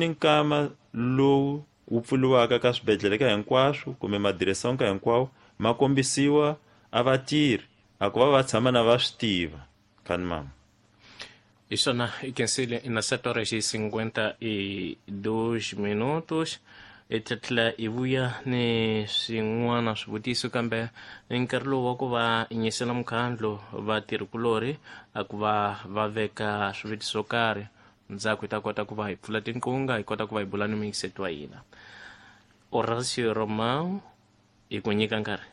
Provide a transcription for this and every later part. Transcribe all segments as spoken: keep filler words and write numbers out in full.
Ni nkama lowu wu pfuriwaka ka swibedhlele ka hinkwaswo kumbe madireson ka hinkwawo ma kombisiwa a vatirhi a ku va va tshama na va swi tiva khani mama. Hi swona i khensile na sete horas e cinquenta e dois minutos. Hi ta tlhela hi vuya ni swin'wana swivutiso kambe nkarhi lowu wa ku va nyisela mukhandlu vatirhikulorhi a ku va va veka swivutiso swo karhi ndzhaku hi ta kota ku va hi pfula tinqunga hi kota ku va hi bula ni muyingiseti wa hina. Horacio Romão hi ku nyika nkarhi.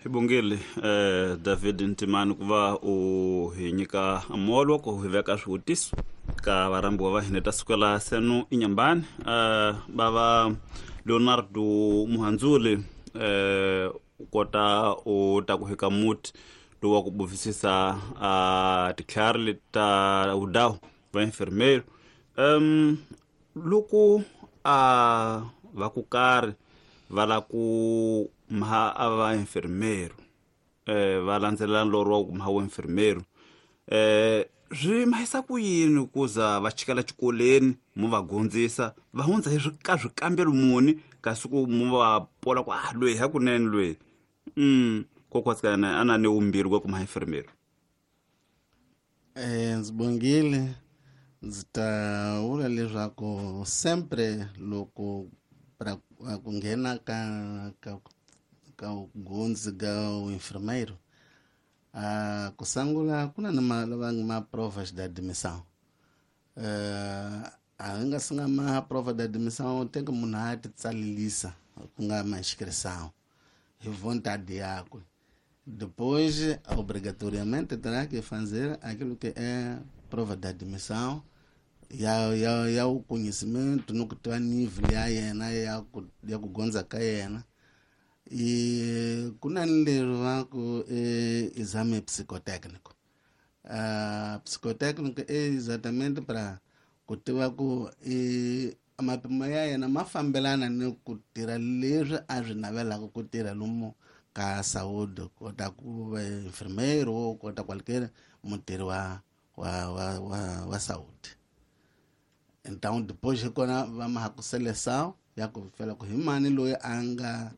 Hi bongile eh David Ntimani ku va u hi nyika molo ku hi veka swivutiso ka varambiwa va hina ta sukela senu inyambani eh bava Leonardo Muhandzuli eh u kota u ta ku hika muti lowu wa ku buvisisa a titlhari leti ta vudawu va enfermeiro um loko a va ku karhi va la ku maha a va enfermeiro eh va landzelela loro wa ku maha wa enfermeiro eh swi mahisa ku yini ku za va chikela xikolweni mu va gondzisa va hundza hi ka swikambelo muni kasi ku mu va pola ku ah loyi hakunene loyi mm kokwatsikana ana ni umbirhi wa ku maha enfermeiro. Eh ndzi bongile ndzi ta vula leswaku sempre loko para ku nghena ka ka ka gondzi ka enfermeiro a ku sangula ku na ma lava ma provas de admissão eh a nga singa ma prova de admissão tem que munhu a ti tsalelisa ku nga ma inscrição hi vontade yakwe. Depois obrigatoriamente terá que fazer aquilo que é prova de admissão ya ya ya o conhecimento no que tiva nível ya yena ya ku ya ku gondza ka yena. E ku na ni leri va ku e exame psicotécnico. Uh, psicotécnico é exatamente para ku tiva ku e mapimo ya yena ma fambelana ni ku tirha leswi a swi navelaka ku tirha lomu ka saúde, kota ku va enfermeiro ou kota qualquer mutirhi wa wa wa wa, wa saúde. Então depois hi kona va maha ku seleção ya ku fela ku hi mani loyi a nga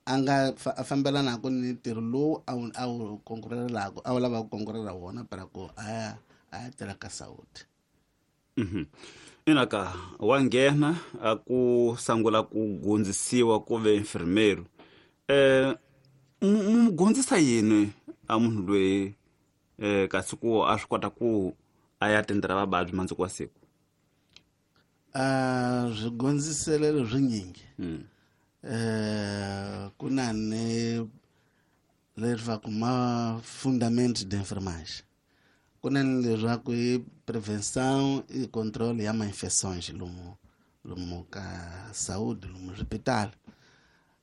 a nga a fambelanaka ni ntirho lowu a wu a wu konkurelaka a wu lava ku konkurela wona para ku a ya a ya tirha ka saúde. Mhm. Ina ka wa nghena a ku sangula ku gondzisiwa ku ve enfermeiro eh mu gondzisa yini a munhu loyi eh kasi ku a swi kota ku a ya tendera vavabyi mandzuku wa siku? A swi gondziselelo swinyingi. Mm. Eh ku na ni leswaku ma fundamento de enfermagem ku na ni leswaku i prevenção e controle ya ma-infecções lomu lomu ka saúde lomu swipitali.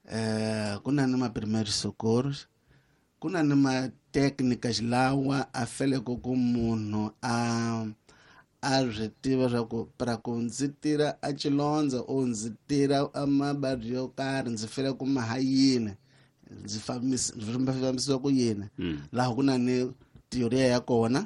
Eh ku na ni ma primeiros socorros, ku na ni ma técnicas lawa a feleke ku munhu a a swi tiva swa ku para ku ndzi tirha a xilondza or ndzi tirha a mavabyi yo karhi ndzi fele ku maha yini ndzi fambisa fambisiwa ku yini. Laha ku na ni teoria ya kona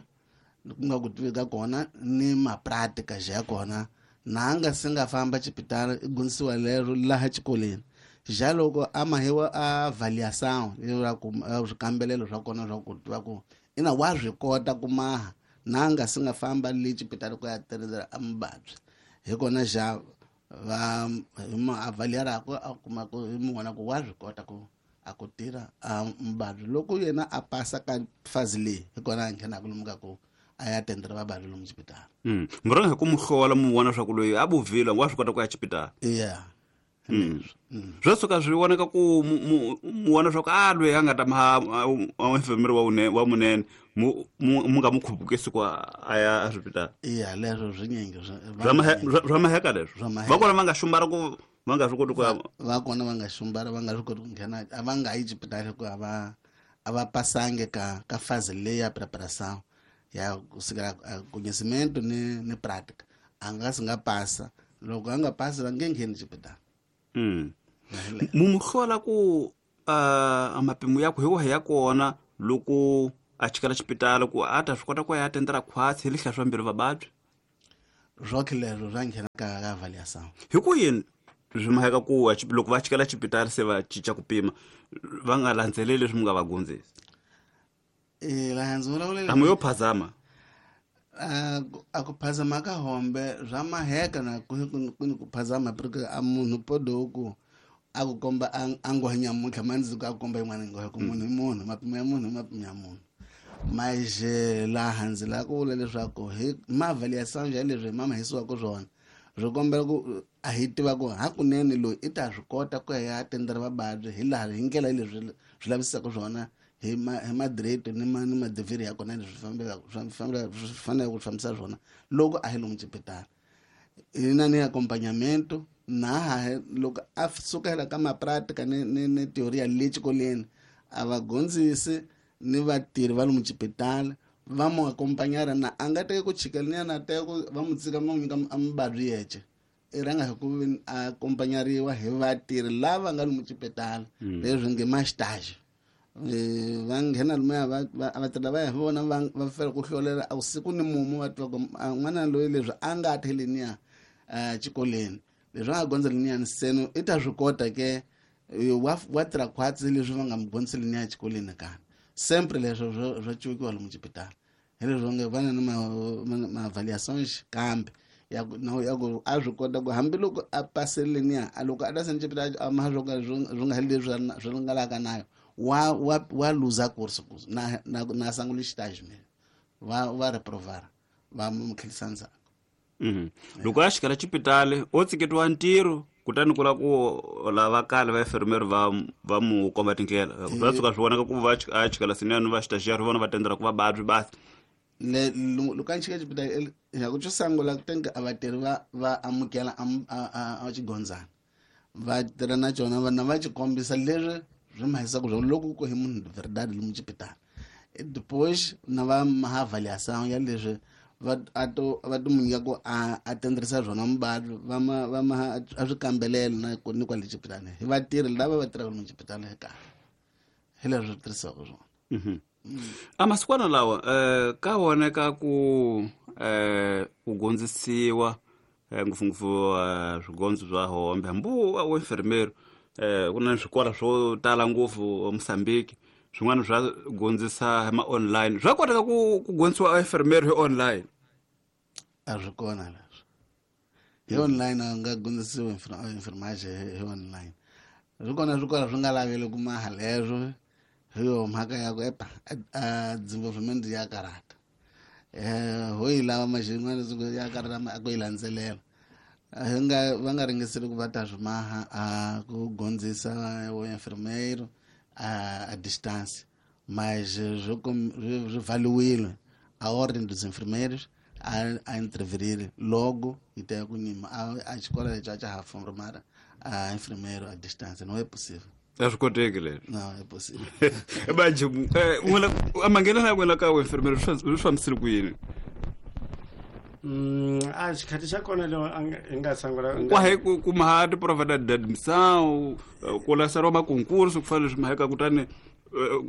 ku nga ku tivi ka kona ni ma-práticas ya kona na nga se nga famba xipitali i gondzisiwa lero laha xikolweni. Já loko a mahiwa a avaliação leswaku swikambelelo swa kona swa ku tiva ku ina wa swi kota ku maha na nga se nga famba le xipitali ku ya tirhela a muvabyi hi kona xa va hi ma avaliaraka a kuma ku hi mu vona ku wa swi kota ku a ku tirha a muvabyi loko yena a pasa ka phase leyi hi kona a nghenaka lomu ka ku a ya tendera vavabyi lomu xipitali. Mm. Mi rhanga hi ku mu hlola mu vona swa ku loyi a buvile wa swi kota ku ya xipitali. Yeah. Mm. Swo suka swi vonaka ku mu mu vona swa ku a loyi a nga ta ma enfermeiro wa une wa munene mu mu nga mu khupukisi ku a ya eswipitali. Iya leswo swinyingi swa maheka leswo va kona va nga xumbara ku va nga swi koti ku ya va kona va nga xumbara va nga swi koti ku nghena a va nga yi xipitali ku a va a va pasangi ka ka phase leyi ya preparação ya kusukela conhecimento ni ni prática a nga si nga pasa loko a nga pasi va nge ngheni xipitali. Mm. Mu hlola ku a mapimo ya ku hi wahi ya kona loko a chikela xipitali ku a ta swi kota ku ya tendera khwatsi hi lihla swa mbilu vavabyi? Swokhe leswo swa nghena ka ka avaliação. Hi ku yini swi maheka ku loko va chikela xipitali se va cinca ku pima va nga landzeleli leswi mi nga va gondzisa? Eh laha ndzi vulavula a mi yo phazama a a ku phazama ka hombe swa maheka na ku ku ku phazama porque a munhu podo ku a ku komba a ngo nyamuntlha mandzi a ku komba yin'wana ngo ku munhu i munhu mapimo ya munhu mapimo ya munhu. Mas laha ndzi lava ku vula leswaku hi maavaliação ya leswi mama hisiwaka swona swi kombela ku a hi tiva ku hakunene loyi i ta swi kota ku ya ya tendera vavabyi hi laha hi ndlela leswi swi lavisaka swona hi ma hi madireto ni ma ni madivhiri ya kona leswi fambelaka swi fambelaka swi faneleke ku fambisa swona loko a hi lomu xipitala. Hi na ni acompanhamento na loko a sukela ka mapratica ni ni ni teoria le xikolweni a va gondzisi ni vatirhi va lomu xipitala va mu acompanhar na a nga teki ku chikela ni na teka ku va mu tsika ma n'wi nyika a muvabyi yexe i rhanga hi ku a acompanhariwa hi vatirhi lava nga lomu xipitala leswi nge ma stage va nghena lomuya va vatirhi lava hi vona va va fela ku hlolela a siku ni mumu va twa ku n'wana loyi leswi a nga theleniya xikolweni leswi a nga gondza leniya seno i ta swi kota ke wa wa tirha khwatsi leswi va nga mu gondziseli niya xikolweni kana sempre leswo swa cukiwa lomu xipitala hi leswo nge va na ni ma-avaliações kambe ya ku ya ku a swi kota ku hambiloko a pasele niya a loko a ta seni xipitala a ma swo ka swi nga heli leswi swi nga laka nayo wa wa wa luza course na na na sangula xitaji me va va reprovar va mu tlhelisa ndzhaku. Mhm. Loko a xikala xipitali o tsiketiwa ntirho kutani ku la ku lava kale va enfermeiro va va mu komba tindlela va tshuka swi vonaka ku va a chikala sinene va xitaxiari vona va tendela ku va vabyi basi le loko a chika xipitali ya ku xo sungula ku tenga a vatirhi va va amukela a xigondzana va tirha na xona va na va xi kombisa leswi swi mahisaka swona loko ku hi munhu verdade lomu xipitala depois na va ma avaliação ya leswi va a to va to munyika ku a a tenderisa swona muvabyi va ma va ma a swi kambelela na ku ni kwale xipitala hi vatirhi lava va tirhaka lomu xipitala hi karhi hi leswi swi tirhisiwaka swona. Mhm. A masikwana lawa eh ka voneka ku eh ku gondzisiwa ngopfungopfu swigondzo swa hombe hambi wa enfermeiro eh ku na swikolo swo tala ngopfu Mozambique swin'wana swa gondzisa hi ma online swa koteka ku ku gondzisiwa enfermeiro hi online a swi kona leswi hi online a nga gondzisiwi enfermagem hi online swi kona swikolo swi nga laveli ku maha leswo hi yo mhaka ya ku epa a desenvolvimento ya karata eh ho yi lava maxin'wana ya karata a ku yi landzelela hi nga va nga ringeseli ku va ta swi maha a ku gondzisa wa enfermeiro a, a distância, mas swi valiwile a ordem dos enfermeiros a, a intervir logo e ter ku nima a, a escola já já formar a enfermeiro a distância não é possível. A swi koteki leswi. Não é possível. Manje n'wina a manghenela ya n'wina ka enfermeiro swi fambisile ku yini? Mm, a xikhathi xa kona leo hi nga sungula kwahe ku kuma ha ti-prova da admissão ku laseriwa makonkurs ku fana leswi maheka kutani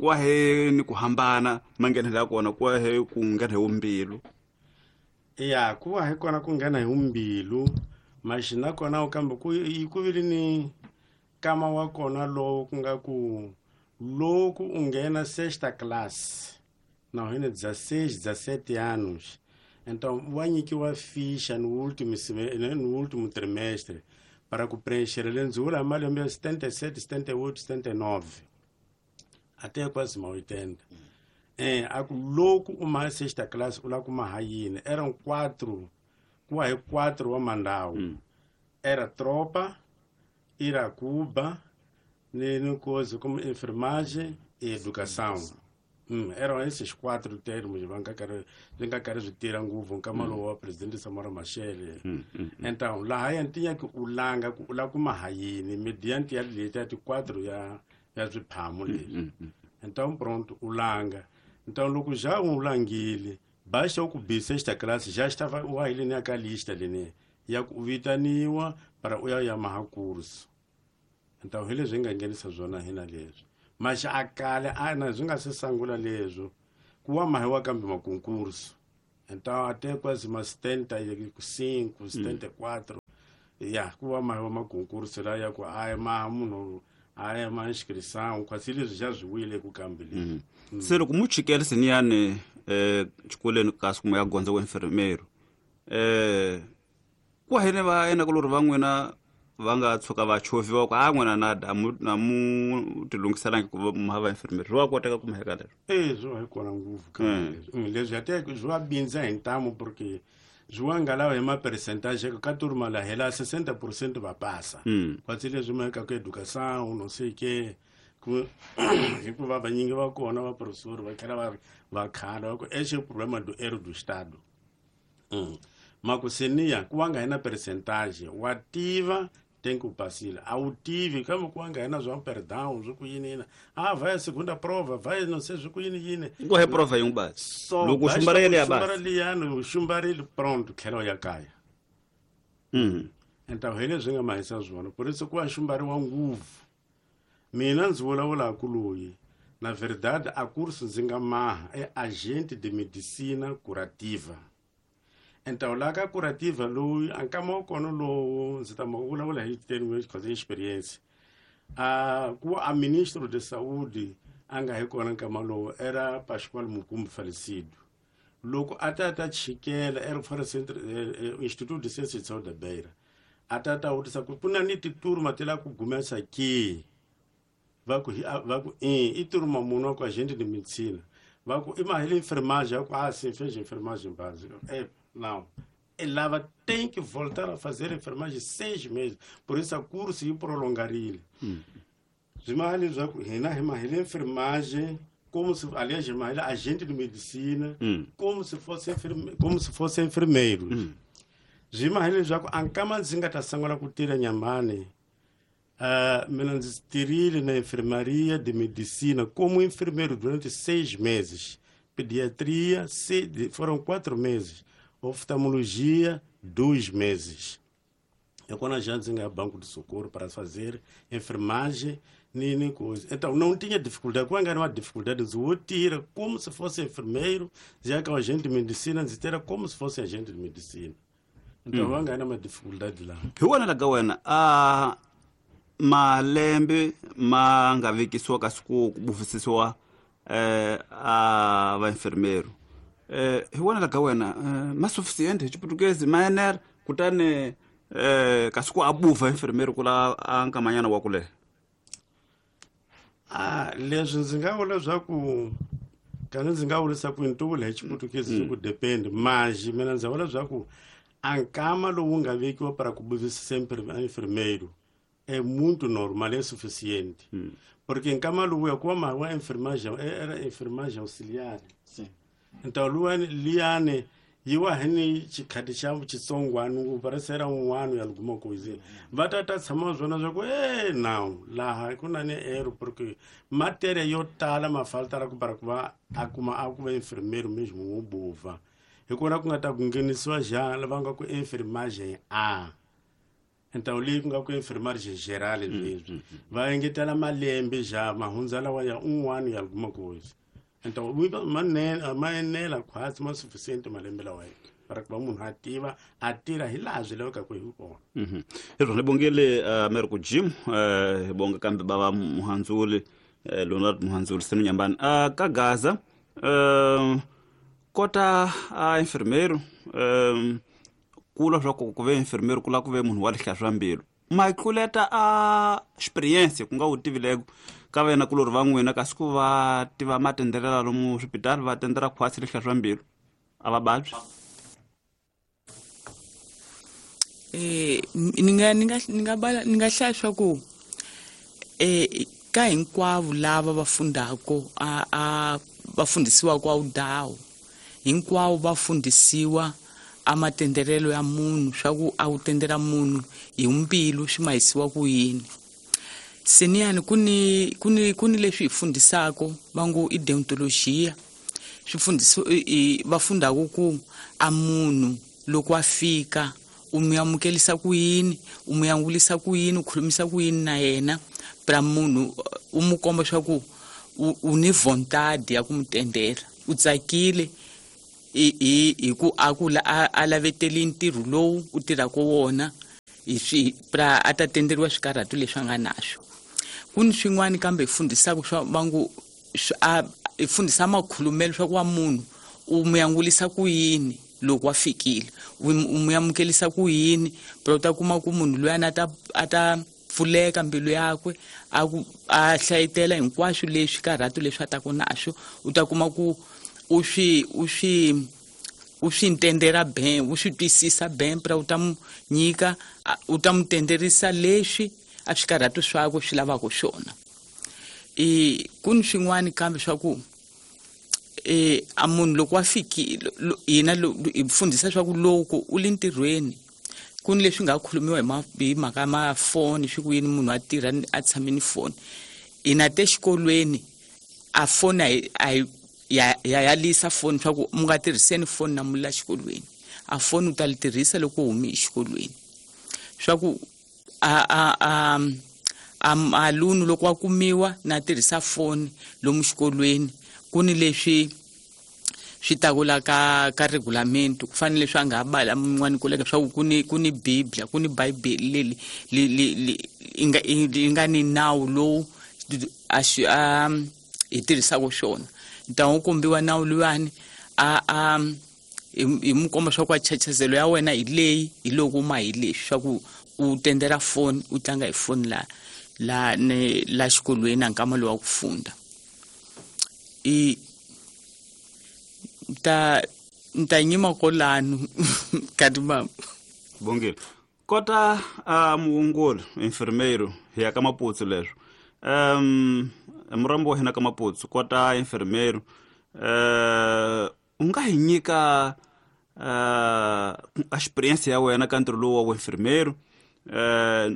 kwahe ni ku hambana manghenelo ya kona kwahe ku nghena hi wumbilu ya ku va hi kona ku nghena hi wumbilu maxi na kona kambe ku yi ku vile ni kama wa kona lowu ku nga ku loko u nghena sexta class na hina dezesseis dezessete anos. Então, va nyikiwa ficha no último no último trimestre para ku preencher lenzula malembe ya setenta e sete, setenta e oito, setenta e nove até quase ma oitenta. Eh, a ku loko u ma sexta class u la kuma ha yini eram quatro, ku va hi quatro wa mandawu. Mm. Era tropa, Iracuba, ni ni coisa como enfermagem e educação. Hum, eram esses quatro termos va nga karhi swi nga karhi swi tirha ngopfu nkama lowu wa presidente Samora Machel. Mm, mm, mm. Então laha ya ntinya ku u langa ku u la kuma ha yini mediante ya leti ya ti quatro ya ya swiphamu leswi. Mm, mm. Então pronto u langa. Então loko já u langile basta ku bi sexta classe já estava u ile ni ka lista leni ya ku vitaniwa para u ya ya maha curso. Então hi leswi hi nga nghenisa swona hina leswi. Mas a kale a na swi nga se sungula leswo ku wa mahiwa kambe makonkurso Então até quase uma setenta e cinco, setenta e quatro ya ku va ma ma concurso la ya ku a ma munhu a ya ma inscrição quase leswi já swi wile ku kambeleni. Se loko mu chikele siniyani eh xikolweni kasi kuma ya gondza wa enfermeiro eh ku hene va yena ku lori va n'wina va nga tshuka va chovhiwa ku a n'wina na da mu na mu tilunghiselangi ku va mu hava enfermeiro wa koteka ku mheka leswo eh swi hi kona ngopfu ka leswi leswi ya te swi va bindza hi ntamu porque swi nga lava hi ma percentage ka turma la hela sessenta por cento va passa quase leswi mheka ku educação não sei que ku hikuva vanyingi va kona va professor va tlhela va va khala va ku esse é o problema do erro do estado. Mm. Makusenia ku nga hina percentage wa tiva tem que passar a u tive como ku nga hina zwa perdão zwi ku yini ah vai a segunda prova vai não sei zwi ku yini yini ku he prova yin'we basi loko xumbarele ya basi xumbarele xumbarele pronto tlhela ya kaya. Mm. Então hele swi nga mahisa swona por isso ku va xumbariwa nguvu mina ndzi vulavula ku loyi na verdade a curso ndzi nga maha é agente de medicina curativa. Então lá ka curativa loyi a nkama wa kona lowu ndzi ta ma vulavula hi termo de experiência a ku a ministro de saúde a nga hi kona nkama lowu era Pascoal Mukumbi falecido loko a ta ta chikela era fora centro Instituto de Ciências de Saúde da Beira a ta ta vutisa ku kuna ni titurma ti la ku gumesa ke va ku va ku i i turma munhu ku agente de medicina va ku i mahele enfermagem ku ah sim fez enfermagem básica é não, ela tem que voltar a fazer enfermagem seis meses. Por isso, a curso ia prolongar ele. Hum. Enfermagem, como se, aliás, agente de medicina, hum. como se fosse enferme, como se fosse enfermeiro. Hum. Na enfermaria de medicina como enfermeiro durante seis meses. Pediatria, foram quatro meses. Oftalmologia, dois meses. Eu quando a gente ia banco de socorro para fazer enfermagem, nem, nem coisa. Então, não tinha dificuldade. Quando era uma dificuldade, eu tira como se fosse enfermeiro, já que é agente de medicina, era como se fosse agente de medicina. Então, hum. eu era uma dificuldade lá. Eu era lá, ah, malembe, ma nga vekisiwa kasi ku bufisisiwa eh a va enfermeiro. Eh hi wona la wena ma suficiente hi Xiputukezi ma enela kutani eh kasi ku abuva enfermeiro kula a nkamanyana wa kule. Ah leswi ndzi nga vula leswaku kana ndzi nga vurisa ku ntuvula hi Xiputukezi ku depend mas mina ndzi vula leswaku a nkama lowu nga vekiwa para ku buvisa enfermeiro é muito normal, é suficiente. Hum. Porque em Camaluia, como a enfermagem era enfermagem auxiliar. Sim. Então, Luane, Liane, eu ahini xikhati xa xitsongwana parece era um ano e alguma coisa. Va ta ta tshama swona swa ku eh não, laha ku na ni erro porque matéria yo tala ma falta ku para ku va a kuma a ku va enfermeiro mesmo wo bova. Hi kona ku nga ta ku nghenisiwa já lava nga ku enfermagem A. Então li ku nga ku enfermagem geral leswi. Va engetela malembe já mahundza lawa ya um ano e alguma coisa. Então manela manela quase mais suficiente malembe lawa para que munhu a tiva a tirha hi laha swi lavekaka hi kona. Mhm. Hi ni bongile Americo Jim hi bonga kambe bava Muhandzuli Leonard Muhandzuli senu Nyambani a ka Gaza kota a enfermeiro kula swa ku ku ve enfermeiro kula ku ve munhu wa lihla mbilu ma tluleta a experience ku nga wu tivileko ka vena kulori va n'wina kasi ku va tiva matenderela lomu swipitali va tendera khwatsi lihla mbilu a va vabyi. Eh ni nga ni nga ni nga bala ni nga hlaya swa ku eh ka hinkwavo lava va fundako a a va fundisiwa kwa udawu hinkwavo va fundisiwa a matenderelo ya munhu swa ku a wu tendera munhu hi mbilu swi mahisiwa ku yini. Seniyani ku ni ku ni ku ni leswi hi fundisako va ngo i deontologia swi fundisiwa va fundako ku a munhu loko a fika u mu amukelisa ku yini u mu yangulisa ku yini u khulumisa ku yini na yena pra munhu u mu komba swa ku u ni vontade ya ku mu tendela u tsakile hi hi ku a ku a laveteli ntirho lowu u tirhaka wona hi swi pra a ta tenderiwa swikarhatu leswi a nga naswo. Ku ni swin'wana kambe hi fundisaka swa va ngo a hi fundisa makhulumelo swa ku wa munhu u mu yangulisa ku yini loko wa fikile, u mu amukelisa ku yini, pra u ta kuma ku munhu luyani a ta a ta pfuleka mbilu yakwe a ku a hlayetela hinkwaswo leswi karhatu leswi a ta ku naswo, u ta kuma ku u swi u swi u swi ntendera ben u swi twisisa ben pra u ta mu nyika u ta mu tenderisa leswi a swikarhatu swakwe swi lavaka swona. I ku ni swin'wana kambe swa ku e a munhu loko wa fikile hina hi fundisa swa ku loko u le ntirhweni ku ni leswi nga khulumiwa hi hi mhaka ma foni swi ku yini munhu a tirha a tshame ni foni. Hina te xikolweni a foni a hi ya ya yalisa foni swa ku mu nga tirhiseni foni na mula xikolweni, a foni u ta li tirhisa loko u humi exikolweni swa ku a a a a alunu loko wa kumiwa na tirhisa foni lomu xikolweni ku ni leswi swi takula ka ka regulamento ku fanele leswi a nga bala mun'wani koleka swa ku ni ku ni biblia ku ni bibele le le yi nga yi nga ni nawu lowu a xi a hi tirhisaka swona. Ni ta n'wi kombiwa nawu luwani a a hi mu komba swa ku a chachazelo ya wena hi leyi hi loko ma hi leswi swa ku u tendera foni u tlanga hi foni la la ne la xikolweni a nkama lowu wa ku funda. I ta ta nyima kolano kati mama Bongile kota a muongoli enfermeiro hi ya ka Maputsu leswo um murambo wa hina ka Maputsu kota enfermeiro uh u nga hi nyika uh experience ya wena ka ntirho lowu wa enfermeiro uh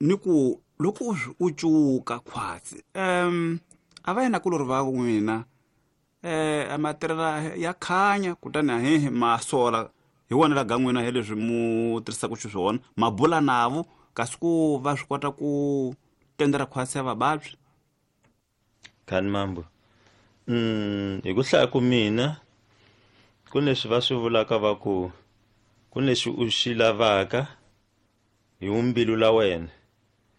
ni ku loko u cuka khwatsi um a va yena kulori va n'wina eh amatirela ya khanya kutani ahehe masola hi wona la gan'wina hi leswi mu tirhisaka xiswona mabula navo kasi ku va swi kota ku tendera khwatsi ya vavabyi. Khani mambo mm hi ku hlaya ku mina ku leswi va swi vulaka va ku ku leswi u xi lavaka hi umbilu la wena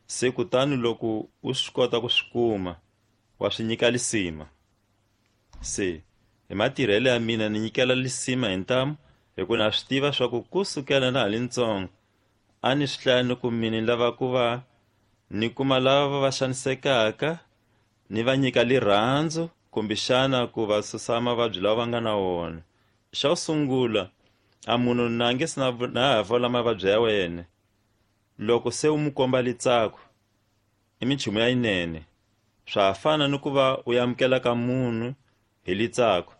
se kutani loko u swi kota ku swi kuma wa swi nyika lisima. Se hi matirhelo ya mina ni nyikela lisima hi ntamu hi ku na swi tiva swa ku kusukela na ha li ntsongo a ni swi hlaya ni ku mina ni lava ku va ni kuma lava va xanisekaka ni va nyika lirhandzu kumbexana ku va susa mavabyi lawa va nga na wona. Xa ku sungula a munhu na nge se na na ha vola mavabyi ya wena loko se u mu komba litsako i minchumu ya yinene swa fana ni ku va u amukela ka munhu hi litsako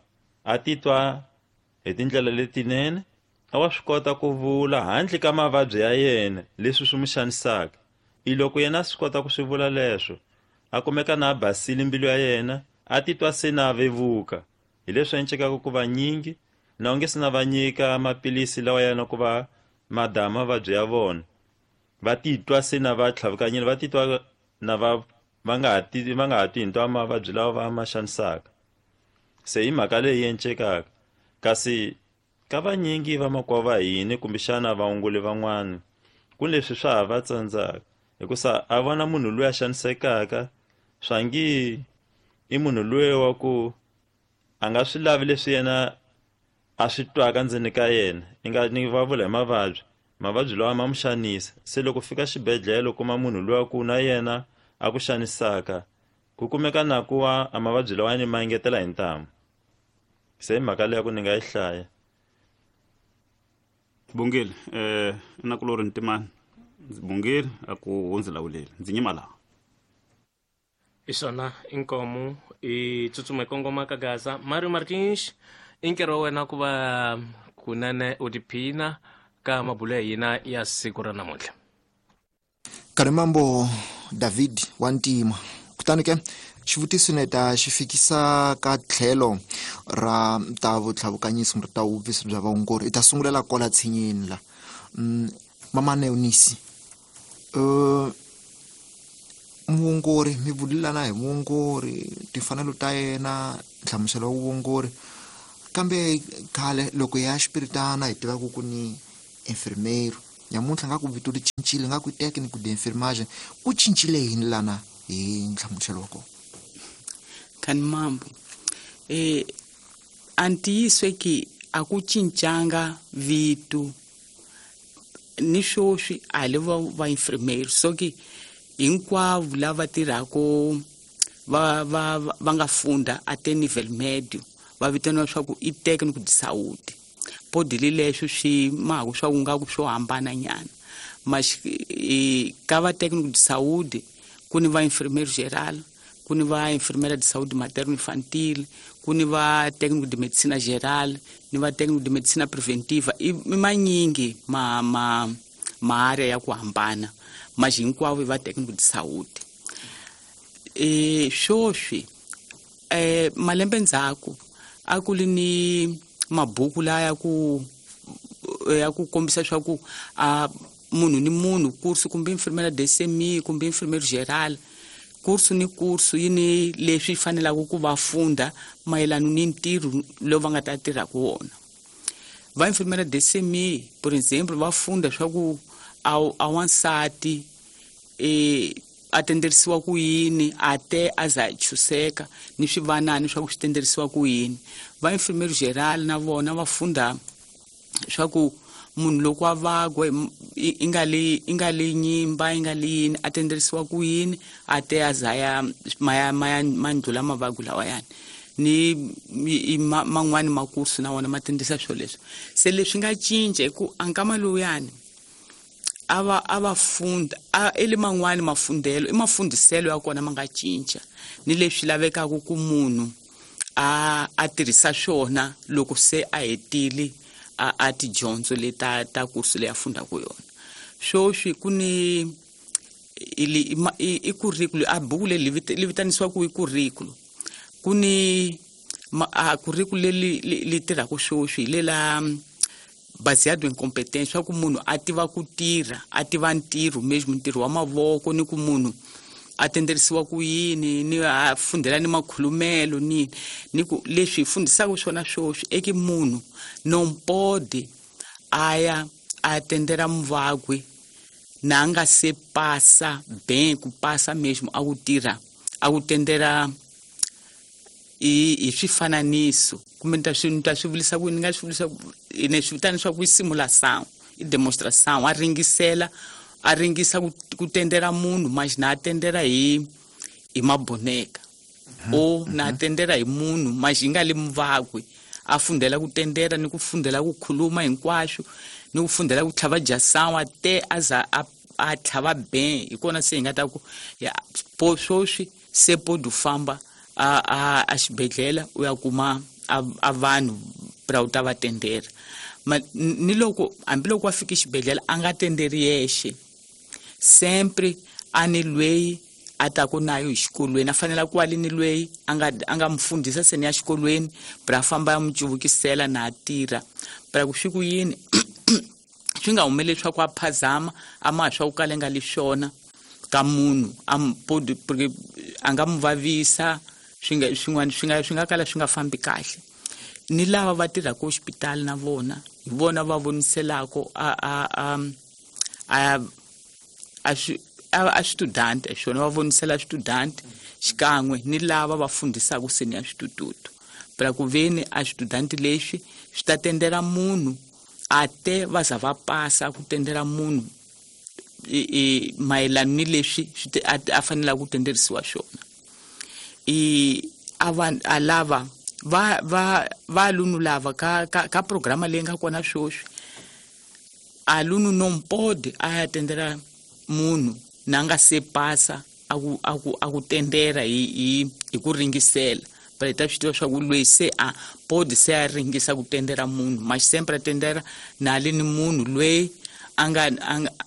a titwa hi tindlela letinene a wa swi kota ku vula handle ka mavabyi ya yena leswi swi mu xanisaka. I loko yena a swi kota ku swi vula leswo a kumeka na a basile mbilu ya yena a titwa se na vevuka hi leswi encekaka ku va nyingi na u nge se na va nyika maphilisi lawa yana ku va madama mavabyi ya vona va titwa se na va tlhavukanyile va titwa na va va nga ha ti va nga ha twi hinto mavabyi lawa va ma xanisaka. Se hi mhaka leyi encekaka kasi ka vanyingi vamakwavo va hina kumbexana vaongoli van'wana ku leswi swa ha va tsandzaka hikusa a vona munhu loyi a xanisekaka swa ngi i munhu loyi wa ku a nga swi lavi leswi yena a swi twaka ndzeni ka yena i nga ni va vula hi mavabyi mavabyi lawa ma mu xanisa. Se loko fika xibedhlele u kuma munhu loyi ku na yena a ku xanisaka ku kumeka na ku wa a mavabyi lawa ni ma engetela hi ntamu. Se hi mhaka leyi ku ni nga yi hlaya. Bongile eh na kulori Ntimani ndzi Bongile a ku hundzi lawuleli ndzi nyima laha. Isona inkomu i tsutsuma kongoma ka Gaza Mario Martins i nkarhi wa wena ku va kunene u tiphina ka mabulo ya hina ya siku ra namuntlha. Karimambo David wa Ntima kutani ke xivutiso ni ta xi fikisa ka tlhelo ra ta vutlhavukanyiso kumbe ta vuvisi bya vaongori i ta sungulela kwala tshinyeni la mama Neonisi uh, muongori mi vulelana hi muongori timfanelo ta yena nhlamuselo wa vuongori Kambe khale loko ya xipiritana hi tiva ku ku ni enfermeiro nyamuntlha nga ku vito ri cincile nga ku técnico de enfermagem ku cincile yini lana hi nhlamuselo wa kona? Kani mambo eh antiyiswe ki a ku cincanga vito ni swoswi a le va va enfermeiro so ki hinkwavo lava tirhako va va va nga funda a te nível médio va vitaniwa swa ku i técnico de saúde. Pode li leswo swi maku swa ku nga ku swo hambana nyana mas ka va técnico de saúde ku ni va enfermeiro geral, ku ni va enfermeira de saúde materno infantil, ku ni va técnico de medicina geral, ni va técnico de medicina preventiva. I manyingi ma ma ma área ya ku hambana mas hinkwavo va técnico de saúde. E swoswi eh malembe ndzhaku a ku li ni mabuku laya ku ya ku kombisa swa ku a munhu ni munhu kursu kumbe enfermeira de C M I kumbe enfermeiro geral kursu ni kursu yini leswi fanelaka ku va funda mayelana ni ntirho lowu va nga ta tirha ku wona. Va enfermeira de C M I por exemplo va funda swa ku a a wansati eh a tenderisiwa ku yini a te a za chuseka ni swivanani swa ku swi tenderisiwa ku yini. Va enfermeiro geral na vona va funda swa ku munhu loko a vagwa i nga li i nga li nyimba i nga li yini a tenderisiwa ku yini a te a za ya maya maya mandlula mavagwi lawayani ni man'wani makursu na wona ma tendisa swo leswo. Se leswi nga cinca hi ku a nkama lowuyani a va a va funda a i le man'wani mafundelo i mafundiselo ya kona ma nga cinca ni leswi lavekaka ku munhu a a tirhisa swona loko se a hetile a a tidyondzo leta ta kursu leyi a fundaka yona. Swoswi ku ni i i curriculum a buku leyi li vitanisiwaka i curriculum ku ni a curriculum leri li tirhaka swoswi hi lela baseado em competência swa ku munhu a tiva ku tirha a tiva ntirho mesmo ntirho wa mavoko ni ku munhu a tenderisiwa ku yini ni a fundela ni makhulumelo ni ni ku leswi hi fundisaka swona swoswi eki munhu non pode a ya a tendera muvagwi na nga se pasa bem ku pasa mesmo a ku tirha a ku tendera i i swifananiso kumbe ni ta swi ni ta swi vulisa ku ni nga swi vulisa ni swi vitana swa ku i simulação i demonstração a ringisela a ringisa ku tendera munhu mas na tendera hi hi maboneka o na tendera hi munhu mas yi nga le muvagwi a fundela ku tendera ni ku fundela ku khuluma hinkwaswo ni ku fundela ku tlhava jasawa te a za a a tlhava ben hi kona se hi nga ta ku ya po swoswi se pode famba a a a xibedhlele u ya kuma a, a vanhu pra u ta va tendera. Ma ni loko hambiloko a fika xibedhlele a nga tenderi yexe sempre a ni lweyi a ta ku nayo hi xikolweni a fanele ku ali ni lweyi a nga a nga mufundhisa seni ya xikolweni pra famba ya mu cuvukisela na a tirha pra ku swi ku yini swi nga humeleli swa ku a phazama a ma swa ku kala nga li swona ka munhu a pode porque a nga mu vavisa swi nga swin'wana swi nga swi nga kala swi nga fambi kahle. Ni lava va tirhaka hospital na vona hi vona va voniselako a a a a a a student swona va vonisela student xikan'we ni lava va fundisaka seni ya switututu pra ku veni a student leswi swi ta tendera munhu a te va za va pasa ku tendera munhu i mayelana ni leswi a fanelaka ku tenderisiwa swona. I a va a lava va va va alunu lava ka ka, ka programa leyi nga kona swoswi alunu non pode a ya tendera munhu na nga se pasa a ku a ku a ku tendera hi hi hi ku ringisela pra hi ta swi tiva swa ku loyi se a pode se a ringisa ku tendera munhu mas sempre a tendera na li ni munhu loyi a nga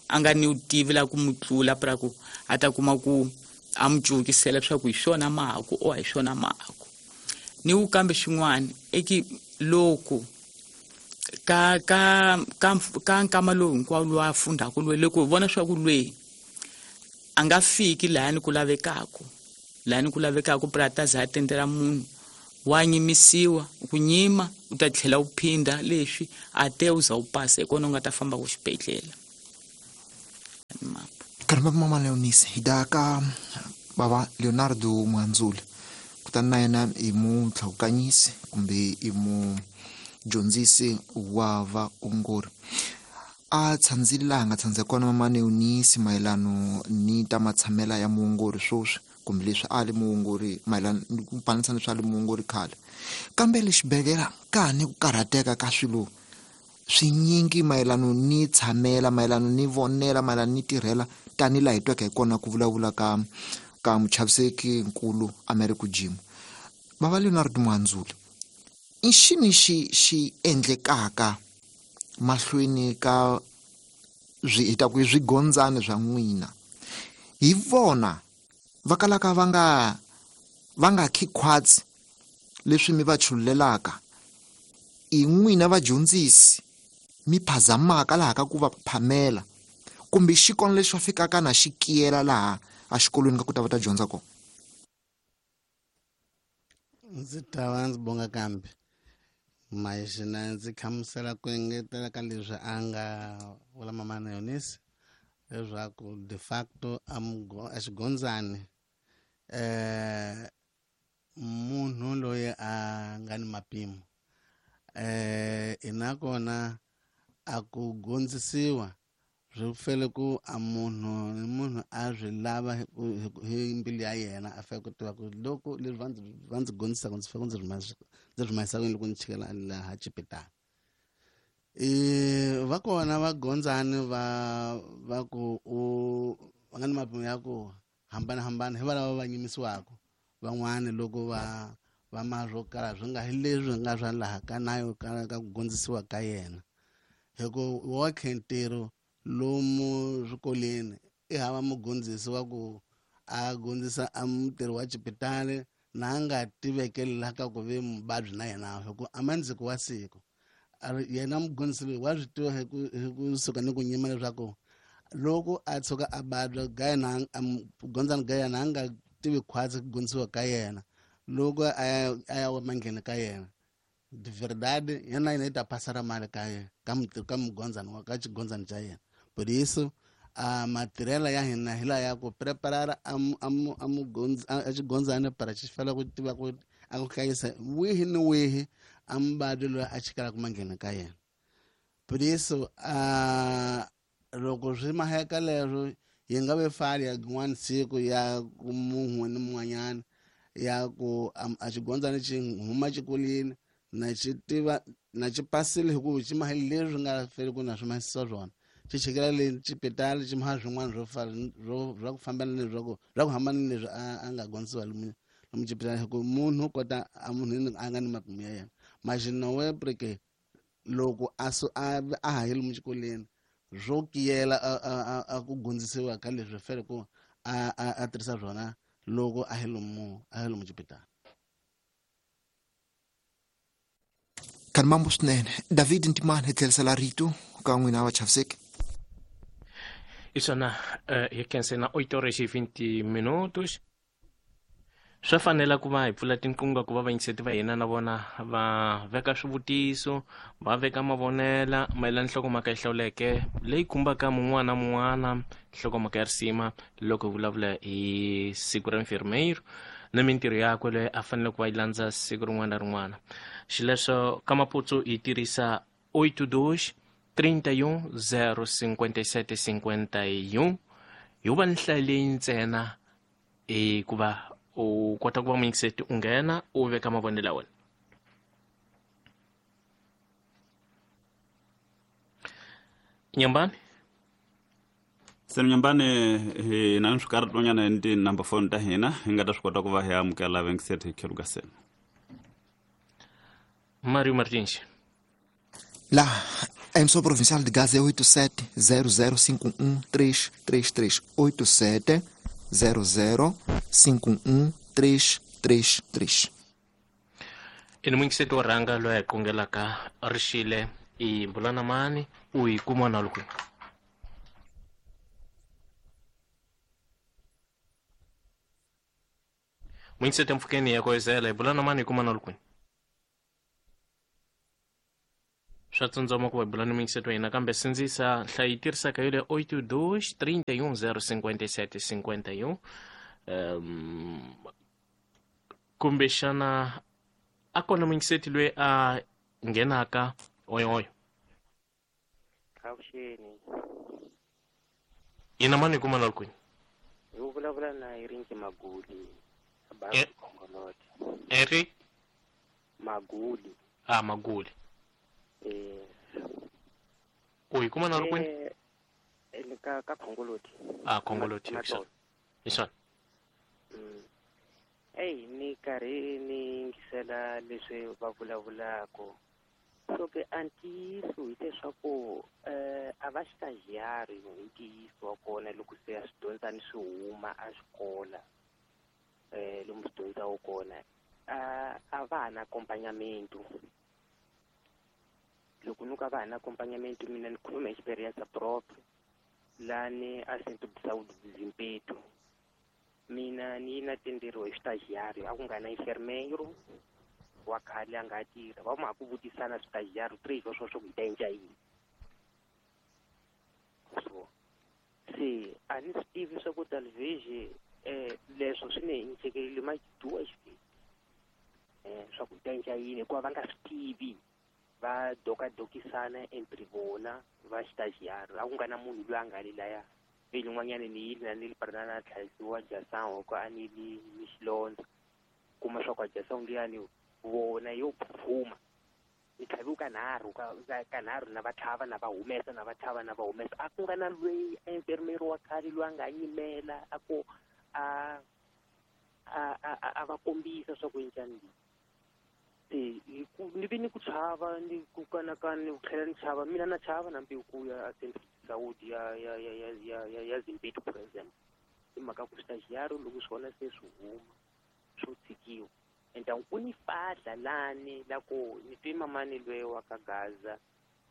a nga ni vutivi la ku mu tlula pra ku a ta kuma ku a mu cuvukisela swa ku hi swona mahaku o a hi swona mahaku. Ni wu kambe xin'wana eki loko ka ka ka ka nkama lowu hinkwawo lowu a fundaka loyi loko hi vona swa ku loyi a nga fiki laha ni ku lavekaka laha ni ku lavekaka pra ta za a tendera munhu Wa nyimisiwa ku nyima u ta tlhela u phinda leswi a te u za u pasa hi kona u nga ta famba ku xibedhlele. Karamba mama Leonise hi da ka bava Leonardo Mwanzula kutani na yena i mutlhawukanyisi kumbe i mudyondzisi wa vaongori. A tshandzile laha nga tshandza kona mama Leonise mayelano ni ta matshamela ya muongori swoswi kumbe leswi a li muongori mayelano ku panisa leswi a li muongori khale, kambe le xibedhlele ka ni ku karhateka ka swilo swinyingi mayelano ni tshamela, mayelano ni vonela, mayelano ni tirhela tani laha hi tweke hi kona ku vulavula ka ka muchaviseki nkulu Americo Jim. Bava Leonardo Mwanzula, i xini xi xi endlekaka mahlweni ka swi hi ta ku swigondzani swa n'wina hi vona va kalaka va nga va nga khikhwatsi leswi mi va chululelaka i n'wina vadyondzisi mi phazamaka laha ka ku va phamela kumbe xikolo lexi va fikaka na xi kiyela laha a xikolweni ka ku ta va ta dyondza kona? Ndzi ta va ndzi bonga kambe maxina ndzi hlamusela ku engetela ka leswi a nga vula mama Leonise leswaku de facto a a xigondzani eh munhu loyi a nga ni mapimo eh ina kona a ku gondzisiwa swi fele ku a munhu ni munhu a swi lava hi mbilu ya yena a fanele ku tiva ku loko leswi va ndzi va ndzi gondzisaka ndzi fanele ndzi rhumesa ndzi rhumesa ku loko ndzi chikela laha xipitala. E va kona vagondzani va va ku u va nga ni mapimo ya ku hambanahambana hi valava va nyimisiwaka van'wani loko va va ma swo karhi swi nga hi leswi nga swa laha ka nayo ka ka ku gondzisiwa ka yena hi ku wokhe ntirho lomu swikolweni i hava mugondzisi wa ku a gondzisa a mutirhi wa xipitali na a nga tivekeli laha ka ku ve muvabyi na yena hi ku a mandziko wa siku yena mugondzisi loyi wa swi tiva hi ku hi kusuka ni ku nyima leswaku loko a tshuka a vabya ga yena a gondzani ga yena a nga tivi khwatsi ku gondzisiwa ka yena loko a ya a ya mangheni ka yena de verdade yena yena yi ta pasara mali ka yena ka ka mugondzani wa ka xigondzani xa yena. Por isso a matirhela ya hina hi laha ya ku preparara a a a mugondzi a xigondzani para xi fanele ku tiva ku a ku hlayisa wihi ni wihi a muvabyi loyi a chikelaka manghena ka yena. Por isso a loko swi maheka leswo yi nga ve fali ya rin'wana siku ya ku munhu ni mun'wanyana ya ku a xigondzani xi huma xikolweni na xi tiva na xi pasile hi ku xi maha leswi nga feli ku na swi mahisa swona xi chikela le xipitali xi maha swin'wana swo fana swo swa ku fambana ni swa ku swa ku hambana ni leswi a a nga gondzisiwa lomu lomu xipitali hi ku munhu kota a munhu a nga ni mapimo ya yena maxinowe porque loko a su a a ha yi lomu xikolweni swo kiyela a a a ku gondzisiwa ka leswi fele ku a a a tirhisa swona loko a hi lomu a hi lomu xipitali. Kan mambo swinene David Ntimani hi tlherisela rito ka n'wina vachaviseki. Isona hi khense na oito horas e vinte minutos. Swa fanela ku va hi pfula tinqingho ku va vayingiseti va hina na vona va veka swivutiso va veka mavonela mayelana nhlokomhaka yi hlawuleke leyi khumbaka mun'wana na mun'wana nhlokomhaka ya risima loko hi vulavula hi siku ra enfermeiro na mintirho yakwe leyi a fanele ku va yi landza siku rin'wana na rin'wana. Xileswo ka Maputsu hi tirhisa oito dois trinta e um zero cinquenta e sete cinquenta e um hi va ni nhlayo leyi ntsena i ku va u kota ku va muyingiseti u nghena u veka mavonelo ya wena. Nyambani Senu Nyambani hi na swikarhatonyana ni ti-number phone ta hina hi nga ta swi kota ku va hi amukela vayingiseti hi khelo ka senu. Mario Martins La emissora provincial de Gaza é oito sete zero zero cinco um três três três oito sete zero zero cinco um três três três. I ni muyingiseti wo rhanga loyi a hi kungelaka rixile i Mbulana Mani u hi kuma na loko Muingisete mpfhukeni ya koyizela hi bula na mani hi kuma na lukwini swa tsundzama ku va hi bula ni muyingiseti wa hina kambe sindzisa nhlayo yi tirhisaka yo le oito dois trinta e um zero cinquenta e sete cinquenta e um um, kumbexana a kona muyingiseti loyi a nghenaka oyoyo avuxeni ina mani hi kuma na lukwini hi ku vulavula na Erinki Maguli E- Khongolote Eric Maguli ah Maguli eh u hi kuma na lukwini eh le ka ka Khongoloti ah Khongoloti Matolo. hi swona Mm. Ey ni karhi ni yingisela leswi va vulavulaka so ke a ntiyiso hileswaku eh a va xitagiari hi ntiyiso wa kona loko se a swi dyondzani swi huma a xikola eh lomu swi dyondzaka kona a a va ha na accompagnamento loko no ka va ha na accompagnamento mina ni khuluma experience propre lani a Centro de Saúde de Zimpeto mina ni na tenderiwa hi switagiari a ku nga na enfermeiro wa khale a nga tirha va ma ku vutisana switagiari três wa sweswo ku hi ta endla yini so se a ni swi tivi swa ku talvez eh leswo swi ni hincekelile ma duas vezes eh swa ku hi ta endla yini hikuva va nga swi tivi va dokadokisana entre vona va xitagiari a ku nga na munhu loyi a nga le laya lelin'wanyana ni yile na ni li parana na tlhayisiwa jasango ko a ni li ni xilondza kuma swa ku a jasango liyani vona yo phuphuma ni tlhaviwe kanharhu ka ka kanharhu na va tlhava na va humesa na va tlhava na va humesa a ku nga na loyi a enfermeiro wa khale loyi a nga yimela a ku a a a a va kombisa swa ku njhani se hi ku ni vi ni ku chava ni ku kanakana ni ku tlhela ni chava mina na chava na mbilu ku ya a Centro de Saúde ya ya ya ya ya ya ya Zimpeto for example hi mhaka ku stagiário loko swona se swi huma swo tshikiwa então ku ni fahla lani la ku ni twe mamani loyi wa ka Gaza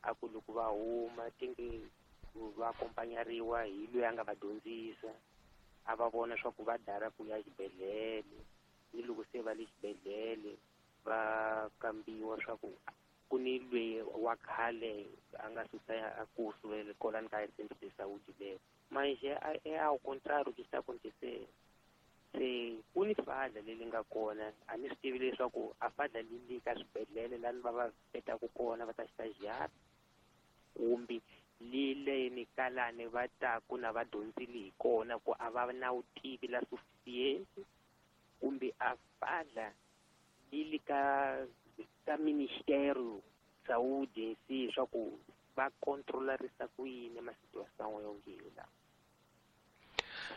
a ku loko va huma tinge va akompanyariwa hi loyi a nga va dyondzisa a va vona swa ku va dara ku ya xibedhlele ni loko se va le xibedhlele va kambiwa swa ku ku ni loyi wa khale a nga susa a kurso kolani ka Centro de Saúde leyo mas é, é ao contrário que está acontecendo se ku ni fadla leri nga kona a ni swi tivi leswaku a fadla li li ka swibedhlele lani va va petaku kona va ta xitagiari kumbe li leni ka lani va taku na va dyondzile hi kona ku a va na vutivi la suficiente kumbe a fadla li li ka ka Ministério Saúde em si swa ku va controlarisa ku yini ma situação yonke la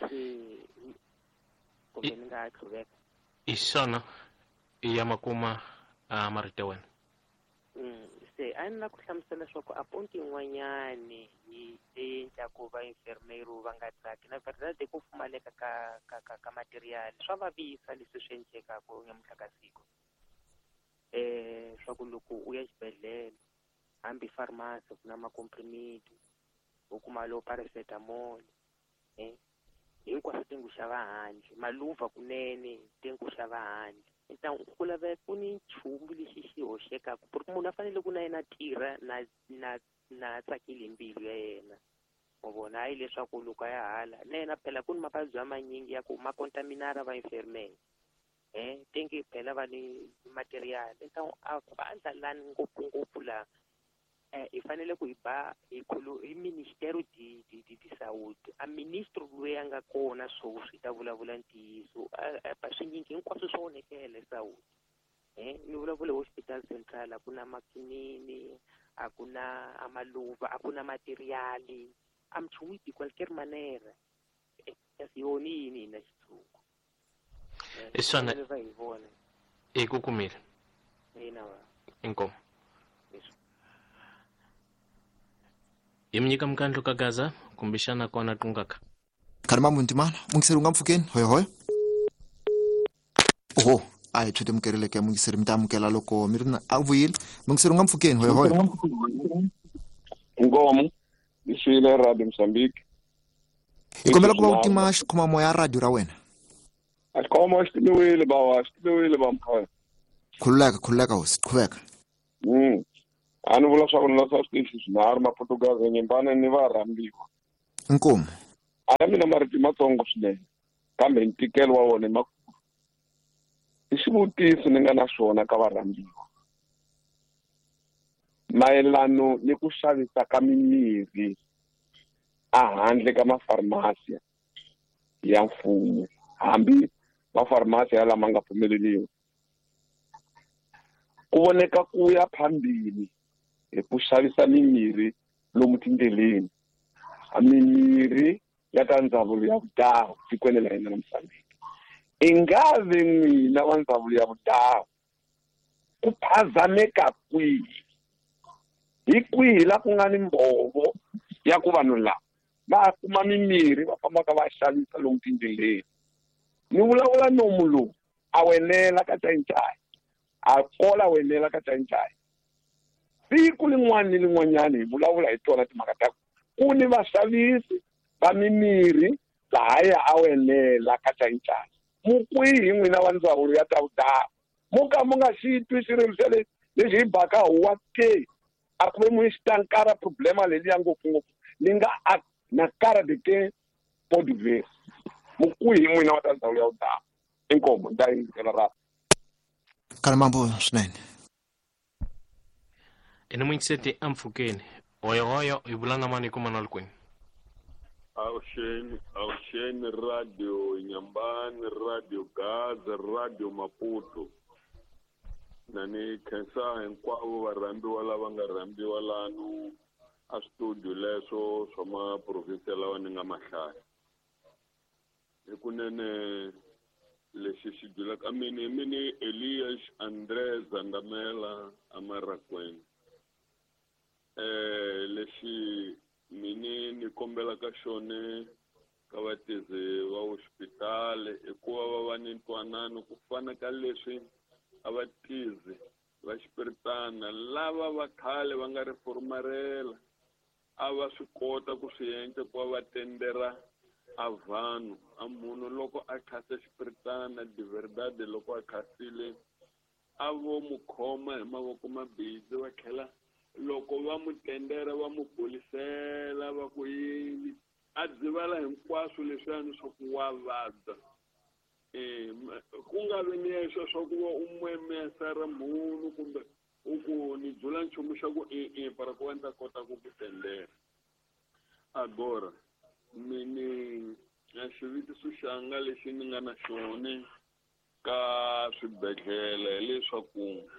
se kumbe ni nga tlhuveka hi swona i ya makuma a marito ya wena Mm, se a ni la ku hlamusela leswaku a ponti yin'wanyani yi leyi endlaku va enfermeiro va nga tsaki na verdade ku pfumaleka ka ka ka ka material swa vavisa leswi swi endlekaku nyamuntlha ka siku eh swa ku loko u ya xibedhlele hambi pharmacy ku na macomprimiti u kuma lo paracetamol eh hinkwaswo ti ngo xava handle maluva kunene ti ngo xava handle então ku laveka ku ni nchumu lexi xi hoxekaku porque munhu a fanele ku na yena tirha na na na tsakile hi mbilu ya yena wa vona hayi leswaku loko a ya hala na yena phela ku ni mavabyi ya manyingi ya ku ma contaminara va enfermere eh tingi phela va ni material então a vandla lani ngopfungopfu laha eh hi fanele ku hi ba hi khulu hi Ministério de de de, de Saúde a ministro loyi a nga kona sweswi ta vulavula ntiyiso swinyingi hinkwaswo swa onhekela saúde eh ni vulavula hi hospital central a ku na makinini a ku na amaluva a ku na materiali a minchumu de qualquer maneira kasi yona yini hina xitshungu hi swona va hi vona hi ku kumile ina va inkomu hi mi nyika mukandlo ka Gaza kumbexana kona qungaka Karima Muntimana mungiseri u nga mpfhukeni hoyohoyo oho a hi tshwete mukerile mungiseri mi ta amukela loko mi ri na a vuyile mungiseri u nga mpfhukeni hoyohoyo Inkomu iswile Radio Mozambique hi kombela ku va u tima xikhomamoya radio ra wena A xikhoma xi timiwile bawa, xi timiwile ba mkhaya. Khululeka, khululeka hosi, qhubeka. Mm. A ni vula swa ku ni la swa switichi swinharhu Maportugazi Nyembane ni va rhambiwa. Inkomu. A ya mina marito matsongo swinene kambe ntikelo wa wona i makulu. I xivutiso ni nga na xona ka varhambiwa mayelano ni ku xavisa ka mimirhi a handle ka mafarmasi ya mfumo, hambi mafarmasi ya lama nga pfumeleriwa. Ku voneka ku ya phambili hi ku xavisa mimirhi lomu tindleleni, mimirhi ya ta ndzawulo ya vudhawu tikweni la hina la Mozambique. I nga ve n'wina wa ndzawulo ya vudhawu ku phazameka kwihi? Hi kwihi la ku nga ni mbhovo ya ku vanhu lava va kuma mimirhi va fambaka va xavisa lomu tindleleni? Ni vulavula nomu lowu a wenela ka Xai-Xai, a kola wenela ka Xai-Xai. Siku lin'wana ni lin'wanyana hi vulavula hi tona timhaka ta ku ni vaxavisi va mimirhi lahaya a wenela ka Xai-Xai. Mu kwihi n'wina wa ndzawulo ya ta vudhawu? Mo ka mo nga xi twi xirilo xa le lexi hi baka huwa ke? A ku ve mu xitankara problema leliya ngopfungopfu ni nga a na cara de que pode ver. Mu kwihi n'wina wa ta ndzawulo ya vudhawu? Inkomu, ni ta yingisela ra. Kalamambo swinene. Ene muingiseti ampfukeni. Hoyo hoyo hi vula na mani kuma na le kwini? Avuxeni, avuxeni Radio Nyambani, Radio Gaza, Radio Maputo. Na ni khensa hinkwavo varhambiwa lava nga rhambiwa lanu a studio leswo swa maprovinsi lawa ni nga mahlaya. Hikunene lexi xi byelaka mini mini Elias Andre Zandamela Amarakweni. Eh lexi mini ni kombelaka xone ka vatirhi va hospitali i ku va va va ni ntwanano ku fana ka leswi a va tirhi va xipiritana lava va khale va nga reformarela a va swi kota ku swi endla ku va va tendera a vanhu a munhu loko a khasa xipiritana de verdade loko a khasile a vo mu khoma hi mavoko mabindzu va tlhela loko va mu tendera va mu polisela va ku yini a dzivala hinkwaswo leswiyani swa ku wa vabya. Eh ku nga vi ni leswo swa ku va u mwemesa ra munhu kumbe u ku ni dzula nchumu xa ku e-e para ku va ni ta kota ku ku tendera. Agora mini a xivutiso xanga lexi ni nga na xona ka swibedhlele hileswaku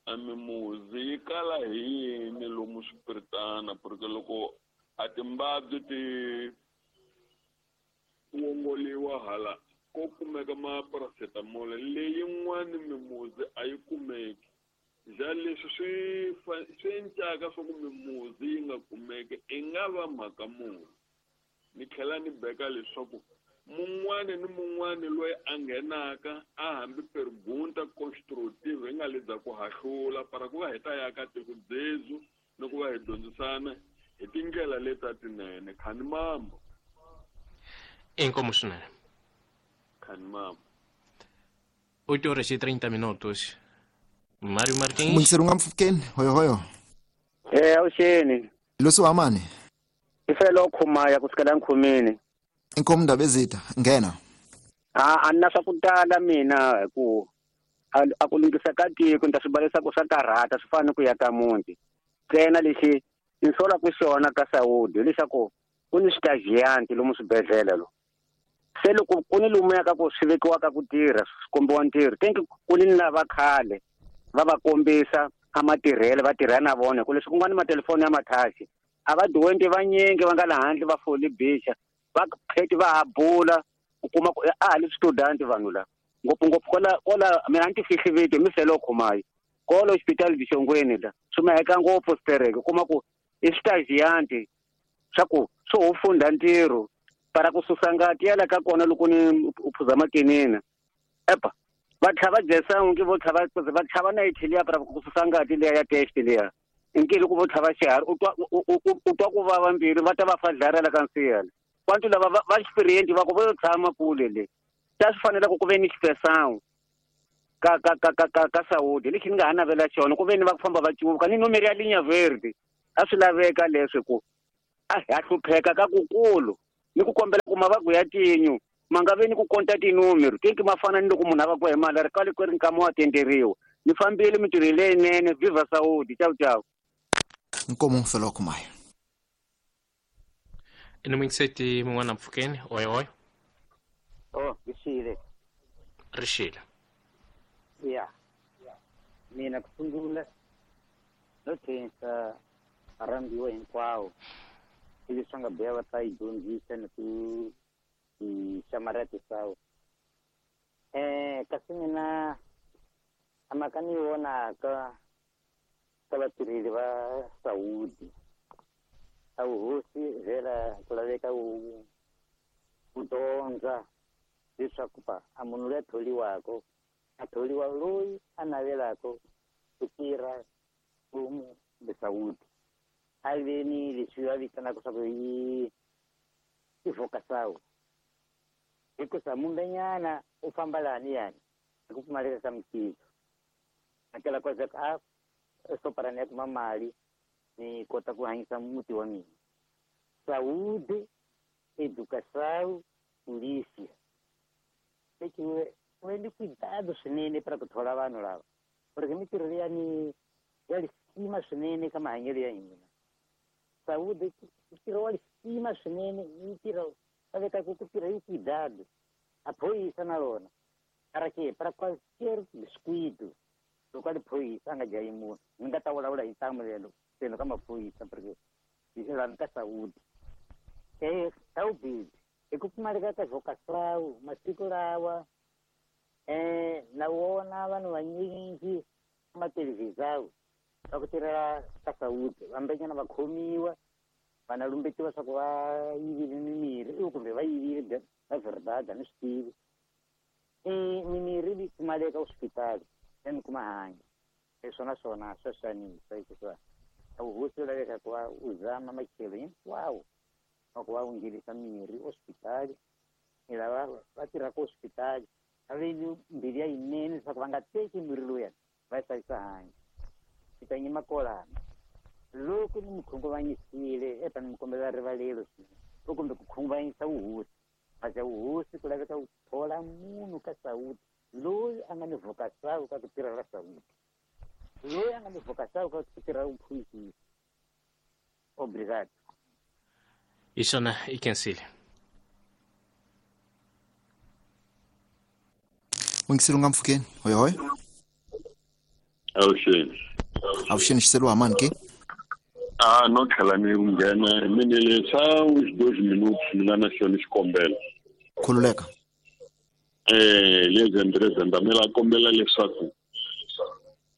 a mimuzi yi kala hi yini lomu swipiritana, porque loko a timbabyi ti wongoliwa hala ko kumeka ma-paracetamol leyin'wani mimuzi a yi kumeki. Ja leswi swi swi encaka swa ku mimuzi yi nga kumeki i nga va mhaka muni. Ni tlhela ni beka leswaku mun'wani ni mun'wani loyi a nghenaka a hambi pergunta constructive hi nga le bya ku hahlula para ku va hi ta ya ka tiko dzezu ni ku va hi dyondzisana hi tindlela leti ta tinene. Khani mambo. Inkomu swinene. Khani mambo. oito horas e trinta minutos. Mário Martins. Mungiseri nga mpfukeni, hoyo hoyo. Eh, avuxeni. Losi wa mani? I felo khumaya kusukela nkhumini. Inkomu ndaba ezita, nghena. A a na swa ku tala mina hi ku a ku lunghisa ka tiko ni ta swi balesa ku swa karhata swi fana ni ku ya ka muti. Ntsena lexi ni solaka xona ka Saudi hileswaku ku ni switagiyanti lomu swibedhlele lo. Se loko ku ni lomuya ka ku swi vekiwaka ku tirha swi kombiwa ntirho thank you ku ni lava khale va va kombisa a matirhelo va tirha na vona ku leswi ku nga ni matelefoni ya mathaxi a va diwenti vanyingi va nga la handle va foli bicha va pheti va ha bula u kuma ku a ha li student vanhu la ngopfungopfu kwala kwala mina a ni ti fihli vito mi selo khumayi kolo hospital Bixongweni la swi maheka ngopfu stereke u kuma ku i switagiyanti swa ku swo ho funda ntirho para ku susa ngati ya la ka kona loko ni u phuza makinina epa va tlhava jesa ngi vo tlhava va tlhava na liya para ku susa ngati liya ya test liya nki loko vo tlhava xiharhi u twa u twa ku vava mbilu va ta va fadlarela ka nsiyela kwantu lava va experience va ku vo tshama kule le Ta swi fanela ku ku ve ni inspeção ka ka ka ka ka ka saúde lexi ni nga ha navela xona ku ve ni va ku famba va cuvuka ni numero ya linha verde a swi laveka leswi ku a ha hlupheka ka kukulu ni ku kombela ku mavaku ya tinyu ma nga ve ni ku konta tinumero tinki ma fana ni loko munhu a va ku hi mali ri kale ku ri nkama wa tenderiwa ni fambile mintirho leyinene viva saúde ciao ciao. Nkomo felo kumaya ino mingiseti mun'wana mpfhukeni oi oi. Oh rixile rixile ya mina ku sungula no khensa varhambiwa hinkwawo ivi swi nga biha va ta yi dyondzisa ni ku hi xamaratisawo um kasi mina a mhaka ni yi vonaka ka vatirheli va saúde a vuhosi vhela ku laveka wu wu dyondza leswaku pa a munhu loyi a tholiwaka a tholiwa loyi a navelaka ku tirha mfumo kumbe saúde a ve ni leswi va vitanaka swa ku i i vocação hikusa mumbenyana u famba lani yani hi ku pfumaleka ka mintirho akela kwaza a soparani ya kuma mali ni kota ku hanyisa muti wa mina. Saúde, educação, polícia. Lexi u endli cuidado swinene para ku thola vanhu lava porque mintirho liya ni ya lisima swinene ka mahanyelo ya hina. Saúde ntirho wa lisima swinene i ntirho va vekaka ku tirha hi cuidado a phorisa na rona para que para qualquer descuido loko a li phorisa a nga dlayi munhu ni nga ta vulavula hi ntamu lelo tlhelo ka maphorisa porque hi lani ka saúde eh saúde hi ku pfumaleka ka vocação masiku lawa eh na wona vanhu vanyingi matelevisão va ku tirhela ka saúde vambenyana va khomiwa vana lumbetiwa swa ku va yivile mimirhi i kumbe va yivile na verdade a ni swi tivi i mimirhi yi pfumaleka hospitali ya ni kuma hanya leswona swona swa xanisa hikuva a vuhosi u laveka ku va u zama matlhelo hinkwawo wa ku va u nghenisa mirhi hospitali ni lava va tirhaka hospitali a ve ni mbilu ya yinene leswaku va nga teki mirhi lowuyani va yi hlayisa hanya ni ta nyima kolana loko ni mi khunguvanyisile eta ni mi kombela rivalelo swinene o kumbe ku khunguvanyisa vuhosi mhaka vuhosi ku laveka ku thola munhu ka saúde loyi a nga ni vocação ka ku tirhela saúde loyi a nga ni vocação ka ku tirhela vuphoyisisi. Obrigado. Hi swona i khensile. N'wingiseli u nga mpfhukeni hoy hoy. Avuxeni. Avuxeni xiseliwa mani ke? Ah, no tlhela ni nghena mina leswa uns dois minutos mina na xona xikombelo. Khululeka. Eh, le Andrés Ndamela kombela leswaku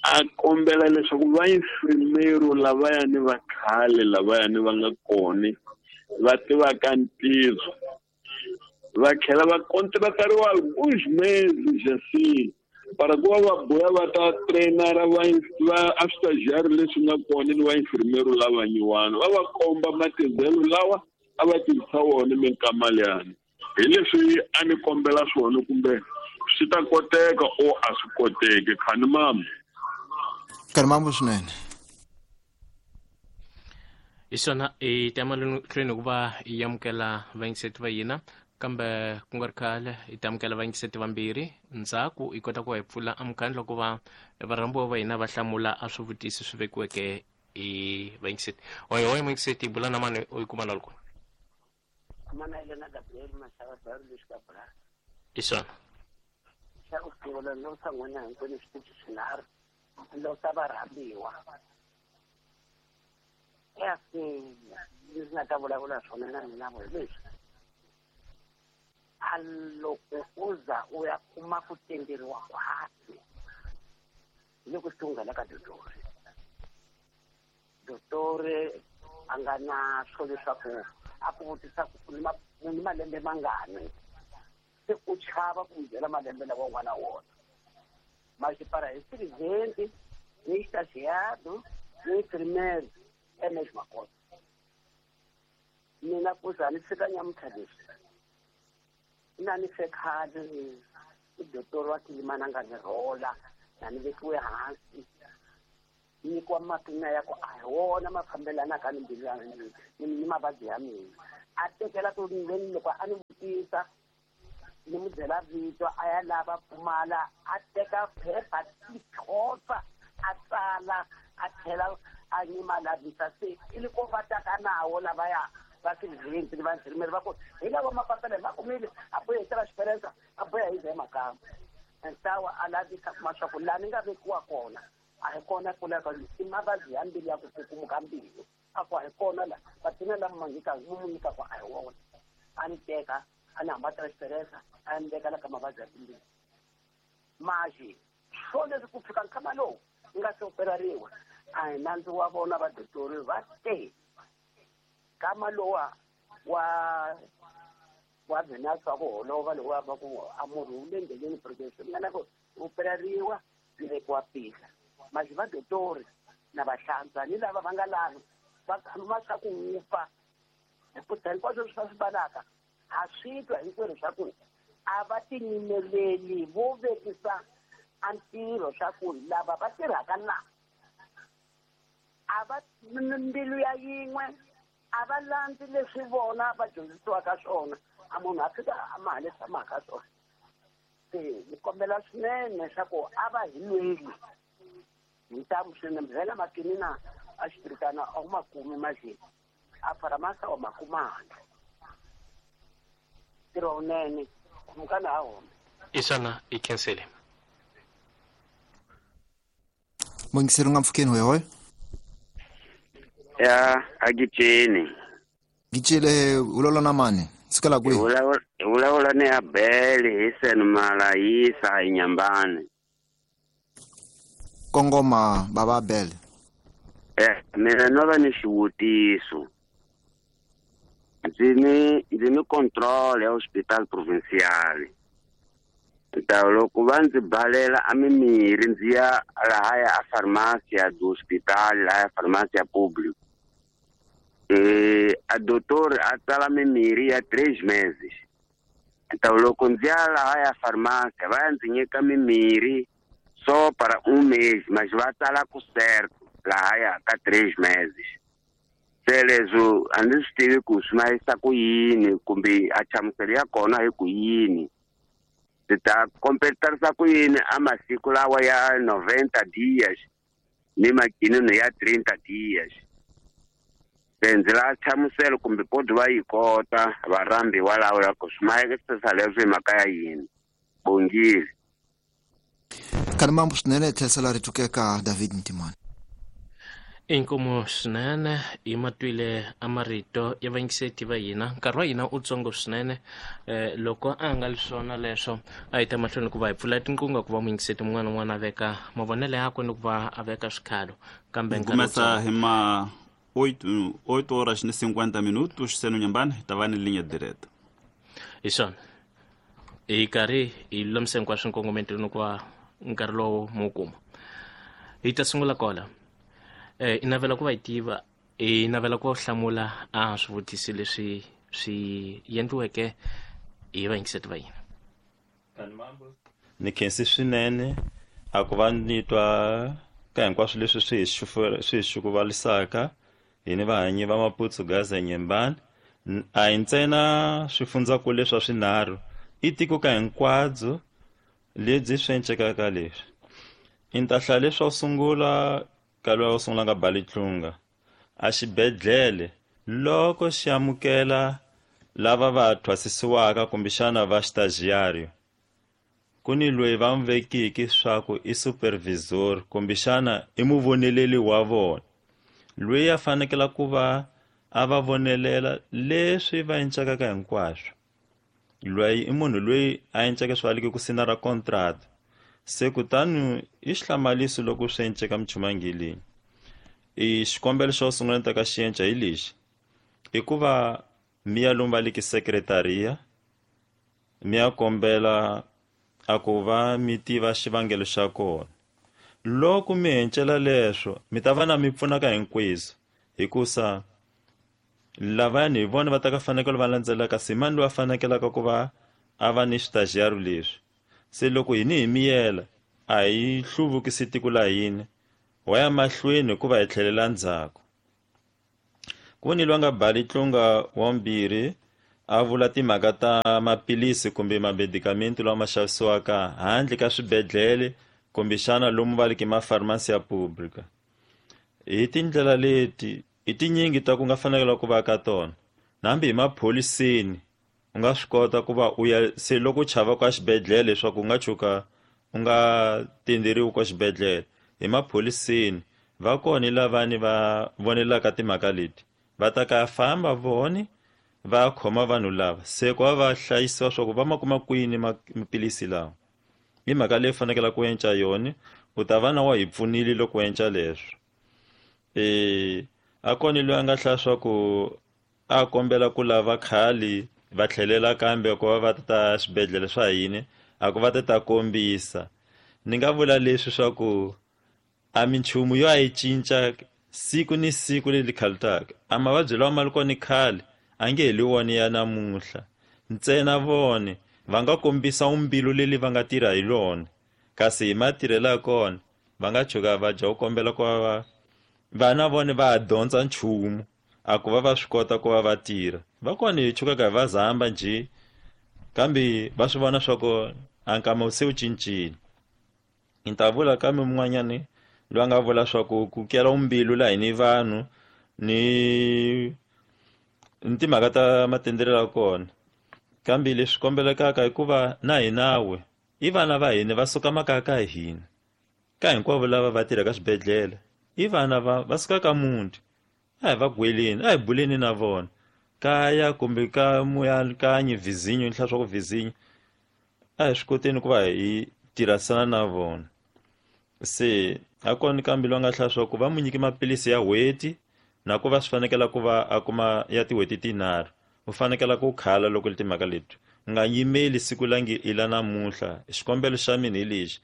a kombela leswaku va infirmero lavayani va khale lavayani va nga kona va tivaka ntirho va tlhela va contratariwa alguns meses assim para ku va va buya va ta trainara va va estagiário leswi nga kona ni va infirmero lava nyiwana va va komba matirhelo lawa a va tirhisa wona minkama liyani hi leswi a ni kombela swona kumbe swi ta koteka o a swi koteki khani mama khani mama swinene. Hi swona hi ta mahlweni ku va hi amukela vayingiseti va hina kambe ku nga ri khale hi ta amukela vayingiseti vambirhi ndzhaku hi kota ku va hi pfula amukhandla loko va varhambiwa va hina va hlamula a swivutiso swi vekiweke hi vayingiseti. Oyo oyo muyingiseti bula na mani u yi kuma la loko mana Elena Gabriel Mashava Baru Lexikabra. Hi swona xa ku sungula no sa n'wina hinkwenu switichi swinharhu lo sa varhambiwa kasi leswi nga ta vulavula swona na mina vo hi leswi a loko u za u ya kuma ku tenderiwa khwatsi hi loko swi nghena ka dotori dotori a nga na swo leswaku a ku vutisa ku u ni malembe mangani se u chava ku byela malembe lawa u nga na wona masipara hi presidente ni estagiário ni enfermeiro é a mesma coisa. Mina ku za ni fika nyamuntlha leswi Na ni fe khale i dotori wa Kilimani a nga ni rhola na ni vekiwe hansi nyikiwa mapina ya ku a hi wona ma fambelanaka ni mbilu ya ni ni mavabyi ya mina. A tekela ku veni loko a ni vutisa ni mu byela vito a ya lava pfumala a teka phepha tikhotsa a tsala a tlhela a nyima lavisa se i li ko va taka nawo lavaya va siriventi ni va va ku hi lava mapapila hi ma kumile a boya hi tela xiperensa a boya hi ze makamba ntawa a lavisa kuma swa ku laha ni nga vekiwa kona a hi kona ku lava i mavabyi ya mbilu ya ku kukumuka mbilu a ku a hi kona la vatina lama ma nyika mu mu nyikaka a hi wona a ni teka a ni hamba transferensa a ni veka la ka mavabyi ya timbilu maxi swo leswi ku fika nkama lowu ni nga se operariwa a hi nandzu wa vona vadotori va te kama lowa wa wa Venus wa ku holova lowa va ku a murhi wu le ndleleni progression nga na ku operariwa ni vekiwa pihla maxi vadotori na vahlantswa ni lava va nga lavi va khama swa ku wufa hikuva hinkwaswo leswi va swi balaka ha swi twa hinkwerhu swa ku a va tinyimeleli vo vekisa a ntirho swa ku lava va tirhaka la a va mbilu ya yin'we a va landzi leswi vona va dyondzisiwaka swona a munhu a fika a ma leswi a mhaka swona se ni kombela swinene swa ku a va hi lweli hi ntamu swinene vhela makinina a xipiritana a wu ma kumi maxi a faramasa wa ma kumanga ntirho wunene khumukana ha wona isana i khensele Mungiseri nga mpfukeni hoyohoyo ya agitsheni gitshele ulola na mani sukela kwihi hi vulavula ni Abel hi sen Malayisa hi Nyambani kongoma baba Abel eh mina no va ni xivutiso ndzi ni ndzi ni control ya hospital provincial ta loko va ndzi balela a mimirhi ndzi ya lahaya a farmasi ya do hospital lahaya farmasi ya público eh a doutor a tsala mimirhi ya três meses então loko ndzi ya lahaya farmasi va ya ndzi nyika mimirhi só para um mês mas va tsala ku certo lahaya ka três meses se leswo a ndzi swi tivi ku swi mayisa ku yini kumbe a nhlamuselo ya kona hi ku yini ndzi ta kompetarisa ku yini a masiku lawa ya noventa dias ni makinino ya trinta dias se ndzi la nhlamuselo kumbe podi va yi kota varhambiwa lawa ya ku swi mayekisisa leswi hi mhaka ya yini bongile Kani mambo swinene tlherisela rito ka David Ntimani Inkomo swinene hi matwile a marito ya vayingiseti va hina nkarhi wa hina u tsongo swinene eh, loko a nga li swona leswo a hi ta mahlweni ku va hi pfula tinqingho ku va muyingiseti mun'wana na un'wana a veka mavonelo yakwe ni ku va a veka swikhalo kambe nkarhi Começa hi ma oito oito horas ni cinquenta minutos seno Nyambani hi ta va ni linha direta hi swona hi karhi hi lulamise hinkwaswo nkongomento ni ku va nkarhi lowu mu kuma hi ta sungula kola eh i navela ku va hi tiva i navela ku va hlamula a swivutiso leswi swi endliweke hi vayingiseti va hina ni khensi swinene a ku va ni twa ka hinkwaswo leswi swi hi swi hi xukuvalisaka hi ni vahanyi va Maputu-Gaza Nyembani a hi ntsena swifundzakulu leswa swinharhu i tiko ka hinkwabyo lebyi swi encekaka leswi i ni ta hlaya leswa sungula ka loyi wo sungula nga Balitlunga a xibedhlele loko xi amukela lava va thwasisiwaka kumbexana va estagiário ku ni loyi va n'wi vekiki swa ku i supervisor kumbexana i muvoneleli wa vona loyi a fanekela ku va a va vonelela leswi va encekaka hinkwaswo loyi i munhu loyi a enceke swa liki ku sinara contract se kutani i xihlamaliso loko swi enceka michumangilini i xikombelo xo sungula ni ta ka xi enca hi lexi i ku va mi ya lomu va liki secretaria mi ya kombela a ku va mi tiva xivangelo xa kona loko mi encela leswo mi ta va na mi pfunaka hinkwenu hikusa lavayani hi vona va ta ka fanekele va landzelaka simani loyi a fanekelaka ku va a va ni switajiyaru leswi. Se loko hini hi miyela a hi hluvukisi tiko la hina, wa ya mahlweni hikuva hi tlhelela ndzhaku. Ku ni loyi a nga bali tlunga wa mbirhi a vula timhaka ta maphilisi kumbe mamedikamenti lawa ma xavisiwaka handle ka swibedhlele kumbexana lomu va leke mafarmasi ya pública. Hi tindlela leti i tinyingi ta ku nga fanekela ku va ka tona. Hambi hi mapholiseni u nga swi kota ku va u ya se loko u chava ka xibedhlele leswaku u nga tshuka u nga tenderiwi ka xibedhlele, hi mapholiseni va kona lavani va vonelaka timhaka leti, va ta ka famba voni va khoma vanhu lava se ku va va hlayisiwa swa ku va ma kuma kwini maphilisi lawa. Hi mhaka leyi fanekele ku enca yona, u ta va na wa hi pfunile loko u enca leswo. E a kona loyi a nga hlaya swa ku a kombela ku lava khale va tlhelela kambe ku va va ta swibedhlele swa hina a ku va ta ta kombisa. Ni nga vula leswi swa ku a minchumu yo a yi cinca siku ni siku leri khalutaka. A mavabyi lawa ma ri kona khale a nge heli wona ya namuntlha, ntsena vone va nga kombisa umbilu leri va nga tirha hi lona, kasi hi matirhelo ya kona va nga tshuka va dya ku kombela ku va va vana vone va ha dyondza nchumu a ku va va swi kota ku va va tirha. Va kona hi tshukaka hi va zamba njhe, kambe va swi vona swa ku a nkama se wu cincile. Ni ta vula kambe mun'wanyani loyi a nga vula swa ku ku kela umbilu laha hi ni vanhu ni ni timhaka ta matendrelo ya kona. Kambe leswi kombelekaka hikuva na hinawe i vana va hina va suka makaya ka hina, ka hinkwavo lava va tirhaka swibedhlele i vana va va suka ka muti, a hi va gweleni, a hi buleni na vona kaya kumbe ka muyakanyi vizinyo ni hlaya swa ku vizinyo, a hi swi koteni ku va hi tirhisana na vona. Se a kona kambe loyi a nga hlaya swa ku va mu nyike maphilisi ya n'hweti na ku va swi fanekela ku va a kuma ya tin'hweti tinharhu, u fanekela ku khala loko li timhaka leti. U nga yimeli siku la nge i la namuntlha. Xikombelo xa mina hi lexi,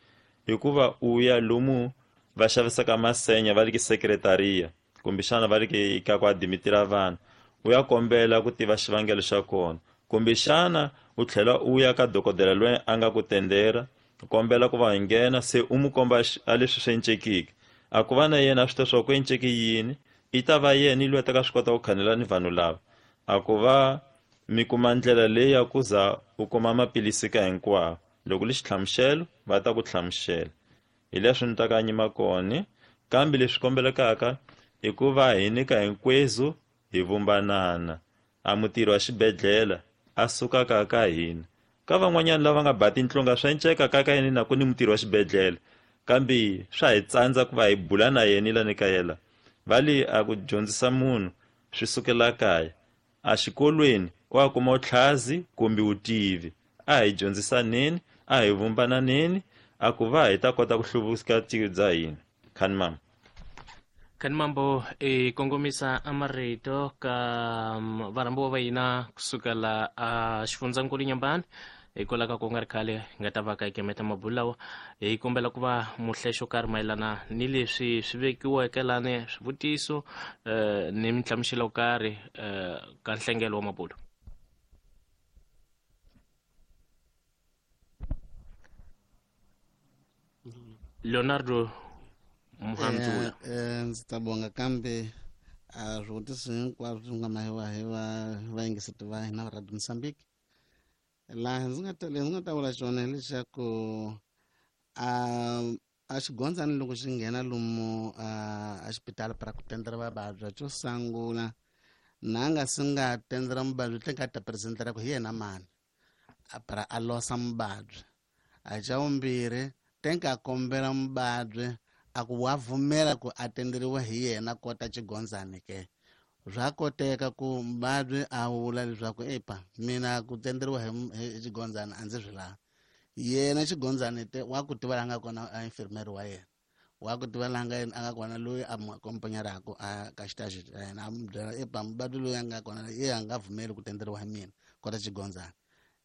hikuva u ya lomu va xavisaka masenya va le ki sekretariya kumbexana va le ki ka ku adimitira vanhu, u ya kombela ku tiva xivangelo xa kona, kumbexana u tlhela u ya ka dokodela loyi a nga ku tendera, u kombela ku va nghena se u mu komba a leswi swi encekiki, a ku va na yena a swi tiva swa ku enceki yini, i ta va yena loyi a ta ka swi kota ku khanela ni vanhu lava, a ku va mi kuma ndlela leyi ya ku za u kuma maphilisi ka hinkwawo. Loko li xihlamuselo va ta ku hlamusela hi leswi ni ta ka nyima kona. Kambe leswi kombelekaka i ku va hi nyika hinkwezu hi vumbanana, a mutirhi wa xibedhlele a sukaka ka hina. Ka van'wanyana lava nga ba tinhlonga swa enceka ka ka yena na ku ni mutirhi wa xibedhlele, kambe swa hi tsandza ku va hi bula na yena la ni ka yena. Va le a ku dyondzisa munhu swi sukela kaya, a xikolweni wa kuma utlhazi kumbe utivi. A hi dyondzisaneni, a hi vumbananeni, a ku va hi ta kota ku hluvukisa tiko bya hina. Khani mama. Khani mambo i kongomisa amarito ka varhambiwa va hina kusukela a xifundzankulu Nyambani, hikwalaho ka ku nga ri khale hi nga ta va ka hi kemeta mabulo lawa. Hi kombela ku va muhlexo karhi mayelana ni leswi swi vekiweke lani swivutiso eh, ni minhlamuselo yo karhi eh, ka nhlengelo wa mabulo. Leonardo Muhandzula. Eh, ndzi ta bonga kambe a swivutiso hinkwaswo swi nga mahiwa hi va vayingiseti va hina va Radio Mozambique. Laha ndzi nga ta ndzi nga ta vula xona hileswaku a a xigondzani loko xi nghena lomu a xipitala para ku tendera vavabyi xo sungula na nga si nga tendera muvabyi tle nga ta presentera ku hi yena mani a para a losa muvabyi. A xa vumbirhi tenka a kombela muvabyi a ku wa pfumela ku a tenderiwa hi yena kota xigondzani ke. Swa koteka ku muvabyi a vula leswaku epa mina ku tenderiwa hi xigondzani a ndzi swi lavi. Yena xigondzani te wa ku tiva la nga kona a infirmeri wa yena, wa ku tiva la nga a nga kona loyi a mu akompanyaraka a ka xitaxi xa yena, a mu byela epa muvabyi loyi a nga kona ye a nga pfumeli ku tenderiwa hi mina kota xigondzani.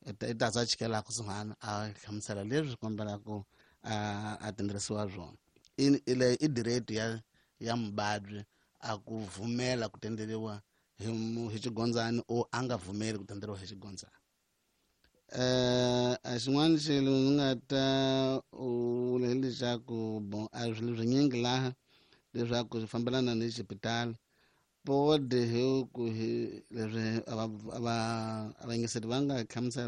I ta za chikela kusuhani a hlamusela leswi kombelaka a a tenderisiwa swona. I ile i direct ya ya muvabyi a ku vumela ku tenderiwa hi hi xigondzani o a nga vumeli ku tenderiwa hi xigondzani. Eh a xin'wana xilo ni nga ta vula hi leswaku bon a swilo swinyingi laha leswaku swi fambelana ni xipitali pode hi ku hi leswi a va a va a vayingiseri va nga hlamusela.